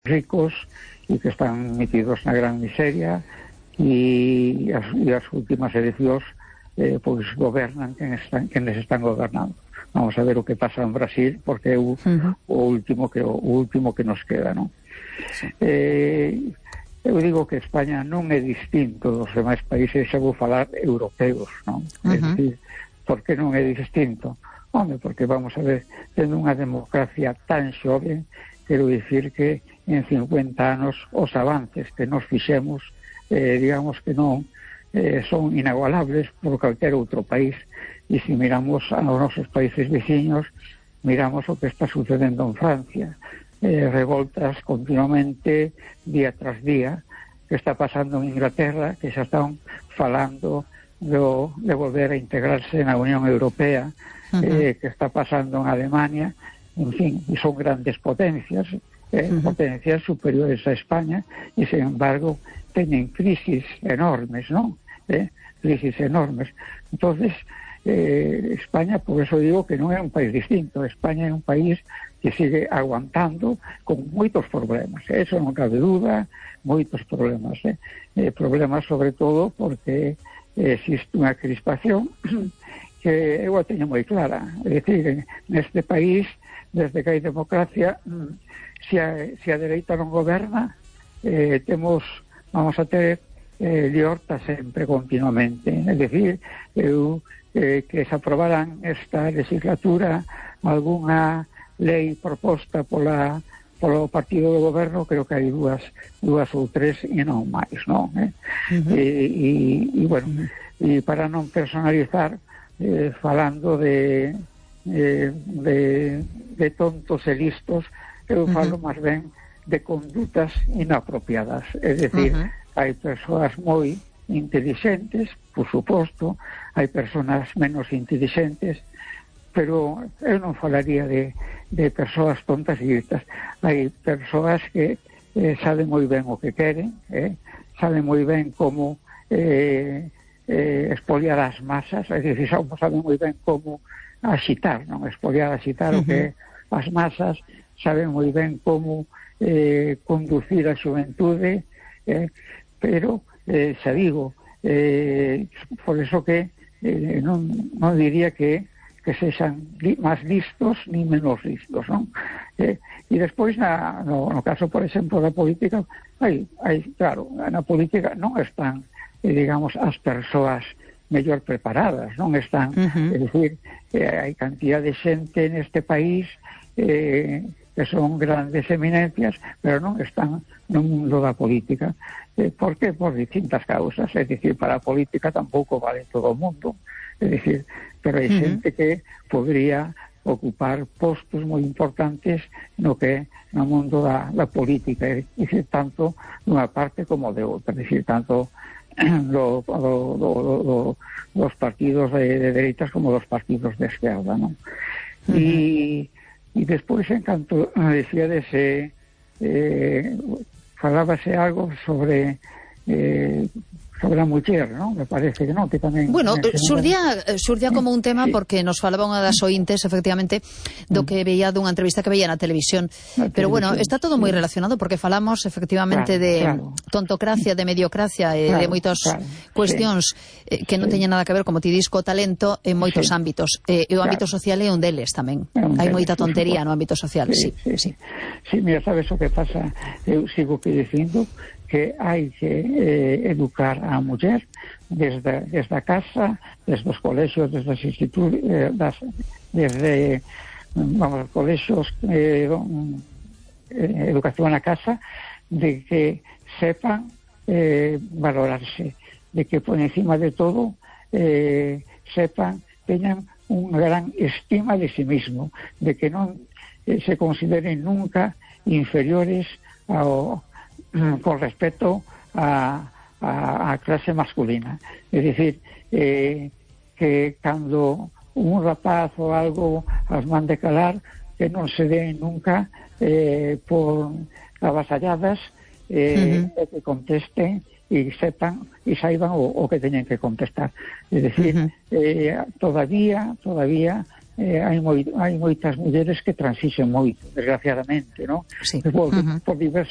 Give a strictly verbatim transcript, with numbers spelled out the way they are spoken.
ricos e que están metidos na gran miseria, e as, e as últimas eleccións eh, pois gobernan quen están, quenes están gobernando. Vamos a ver o que pasa en Brasil, porque é o, uh-huh. o último que o, o último que nos queda, non? Sí. Eh, eu digo que España non é distinto dos demais países, xa vou falar europeos, non? Uh-huh. É dicir, por que non é distinto? Home, porque vamos a ver, tendo unha democracia tan xove, quero dicir que en cincuenta anos os avances que nos fixemos, eh, digamos que non eh, son inagualables por calquer outro país, e se miramos aos nosos países veciños, miramos o que está sucedendo en Francia, eh, revoltas continuamente día tras día, que está pasando en Inglaterra, que xa están falando do, de volver a integrarse na Unión Europea, uh-huh. eh, que está pasando en Alemania, en fin, e son grandes potencias, eh, uh-huh. potencias superiores a España, e sin embargo teñen crisis enormes, non? Eh, crisis enormes. Entonces, eh, España, por eso digo que non é un país distinto. España é un país que sigue aguantando con moitos problemas, eh? Eso non cabe duda, moitos problemas, eh? Eh, problemas sobre todo porque eh, existe unha crispación que eu a teño moi clara. É dicir, neste país, desde que hai democracia, se a, se a dereita non goberna, eh, temos, vamos a ter eh, liorta sempre, continuamente. É dicir, eu, eh, que se aprobaran esta legislatura algunha lei proposta pola polo partido do goberno, creo que hai dúas dúas ou tres e non máis, non? Eh? Uh-huh. E, e, e, bueno, uh-huh. e para non personalizar, eh, falando de, eh, de de tontos e listos, eu falo uh-huh. máis ben de condutas inapropiadas. É dicir, uh-huh. hai persoas moi intelixentes, por suposto, hai persoas menos intelixentes, pero eu non falaría de, de persoas tontas e listas. Hai persoas que eh, saben moi ben o que queren, eh, saben moi ben como eh, eh, expoliar as masas, é dicir, saben moi ben como axitar, non? Expoliar, axitar uh-huh. o que as masas, saben moi ben como eh, conducir a xuventude, eh, pero eh, xa digo, eh, por eso que eh, non, non diría que que sexan li, máis listos ni menos listos, non? Eh, e despois, na, no, no caso, por exemplo, da política, hai, hai, claro, na política non están, eh, digamos, as persoas mellor preparadas, non están, uh-huh. é dicir, eh, hai cantidad de xente neste país eh, que son grandes eminencias, pero non están no mundo da política. Eh, por que? Por distintas causas, é dicir, para a política tampouco vale todo o mundo, é dicir, pero hai uh-huh. xente que podría ocupar postos moi importantes no que no mundo da, da política, é dicir, tanto dunha parte como de outra, é dicir, tanto do, do, do, do, dos partidos de, de dereitas como dos partidos de esquerda, non? Uh-huh. E, e despois, en canto decía dese eh, falábase algo sobre eh, sobre a muller, non? Me parece que non, que tamén... Bueno, xurdía, xurdía como un tema, sí, porque nos falaba unha das ointes, efectivamente, do que veía dunha entrevista que veía na televisión. Na Pero televisión, bueno, está todo moi relacionado, porque falamos efectivamente claro, de claro. tontocracia, de mediocracia, e claro, de moitas claro, cuestións sí. que non teñen nada que ver, como ti dis, co talento en moitos sí. ámbitos. E o ámbito claro. social é un deles tamén. Un Hai moita tontería no ámbito social, sí. Sí, sí, sí. sí mira, sabes o que pasa? Eu sigo que dicindo que hai que eh, educar a muller desde, desde a casa, desde os colexios, desde as institutos, eh, das, desde, vamos, colexios, eh, eh, educación na casa, de que sepan eh, valorarse, de que por encima de todo eh, sepan, teñan unha gran estima de sí mismo, de que non eh, se consideren nunca inferiores ao con respecto a, a, a clase masculina. Es decir, eh, que cando un rapaz ou algo as mande calar, que non se den nunca eh, por avasalladas, eh, uh-huh. e que contesten e sepan e saiban o, o que teñen que contestar. Es decir, uh-huh. eh, todavía, todavía eh, hai, moi, hai moitas mulleres que transixen moito, desgraciadamente, ¿no? Sí. Por, uh-huh. por diversas